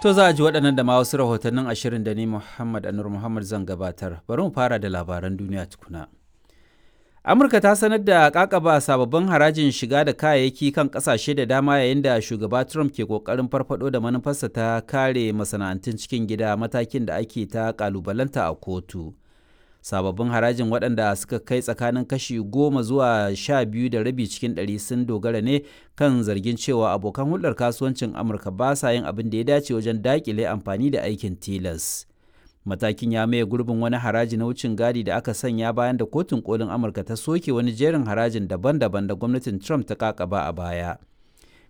To za a ji waɗannan da ma wasu rahotannin ashirin da ni Muhammad Anur Muhammad zan gabatar. Bari mu fara da labaran duniya tukuna. Amurka ta sanar da kakaba sababbin harajin shiga da kayayyaki kan kasashe da dama yayin da shugaba Trump ke kokarin farfado da manufarsa ta kare masana'antun cikin gida, matakin da ake ta kalubalanta a kotu. Sababbin harajin, waɗanda suka kai tsakanin kashi 10 zuwa 12.5 cikin ɗari, sun dogara ne kan zargin cewa abokan hulɗar kasuwancin Amurka ba sa yin abin da ya dace wajen daƙile amfani da aikin tilas. Matakin ya maye gurbin wani haraji na wucin gadi da aka sanya bayan da Kotun Kolin Amurka ta soke wani jerin harajin daban-daban da gwamnatin Trump ta kakaba a baya.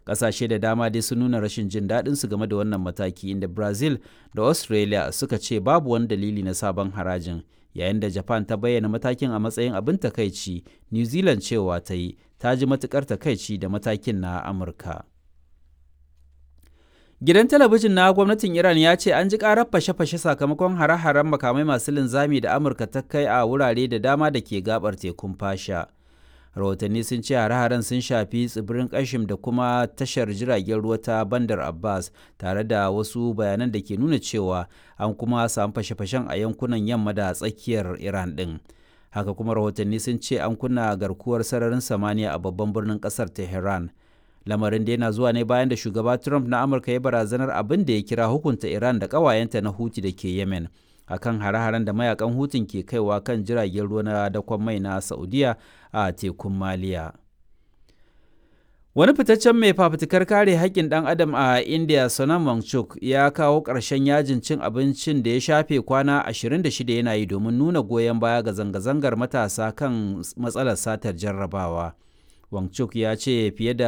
Ƙasashe da dama dai sun nuna rashin jin daɗin su game da wannan mataki, inda Brazil da Australia suka ce babu wani dalili na sabon harajin, yayin da Japan ta bayyana matakin a matsayin abin takaici. New Zealand cewa ta yi ta ji matukar takaici da matakin na Amurka. Gidan talabijin na gwamnatin Iran ya ce an ji karar fashe-fashe sakamakon hare-haren makamai masu linzami da Amurka ta kai a wurare da dama da ke gabar tekun Fasha. Rahotanni sun ce hare-haren sun shafi tsibirin Kashim da kuma tashar jiragen ruwa ta Bandar Abbas, tare da wasu bayanan da ke nuna cewa an kuma samu fashe-fashen a yankunan yamma da tsakiyar Iran ɗin. Haka kuma rahotanni sun ce an kunna garkuwar sararin samaniya a babban birnin ƙasar Tehran. Lamarin da yana zuwa ne bayan da shugaba Trump na Amurka ya barazanar abin da ya kira hukunta Iran da ƙawayenta na Huti da ke Yemen akan hare-haren da mayakan Hutun ke kaiwa kan jiragen ruwa na dakon mai na Saudiya a tekun Maliya. Wani fitaccen mai fafutukar kare haƙƙin ɗan adam a India, Sonam Wangchuk, ya kawo ƙarshen yajin cin abincin da ya shafe kwana 26 yana yi domin nuna goyon baya ga zanga-zangar matasa kan matsalar satar jarrabawa. Wangchuk ya ce fiye da